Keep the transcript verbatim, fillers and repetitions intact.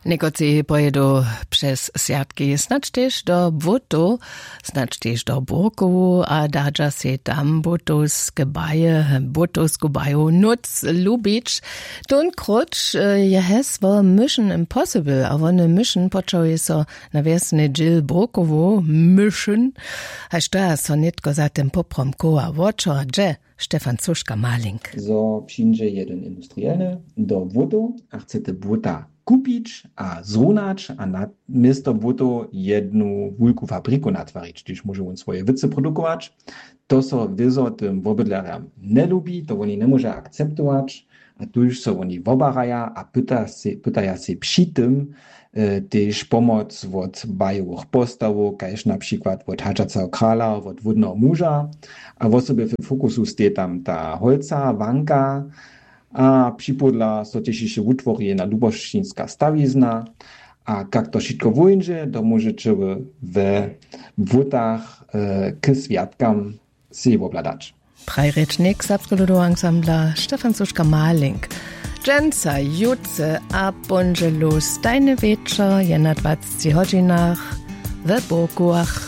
Někotři pojědu přez swjatki snadź tež do błótow, snadź tež do bórkowu a dadźa sej tam błótowske baje, błótowsku baju nóc lubić. Tón króć je hesło Mission Impossible a wone Mission počałuje so na wjesny dźěl bórkowu Mission. Haž to ja so nětko za tym poprom koła wočo a dźe. Stefan Suška-Malink. Zo přińdźe jedyn industrielny do błótow a chce te błóta kupić a zrunać a na město błótow jednu wulku fabriku natwarić, hdyž móže wón swoje wěcy produkować. To so wězo tym wobydlerjam njelubi, to woni njemóže akceptować. A tuž so woni wobaraja a pytaja sej při tym tež pomoc wot bajowych postawow kaž na přikład wot hadźaceho krala wot wódneho muža. A wosebje w fokusu steji tam ta holca wanka. A připodla so tež hišće wutwori jedna lubošćinska stawizna. A kak to wšitko wóńdźe to móžeće we błótach k swjatkam sej wobhladać. Prajrěčnik serbskeho ludoweho ansambla Stefan Suška-Malink. Dźensa jutře a póndźelu stajny wječor je na dwacci hodźinach we bórkowach.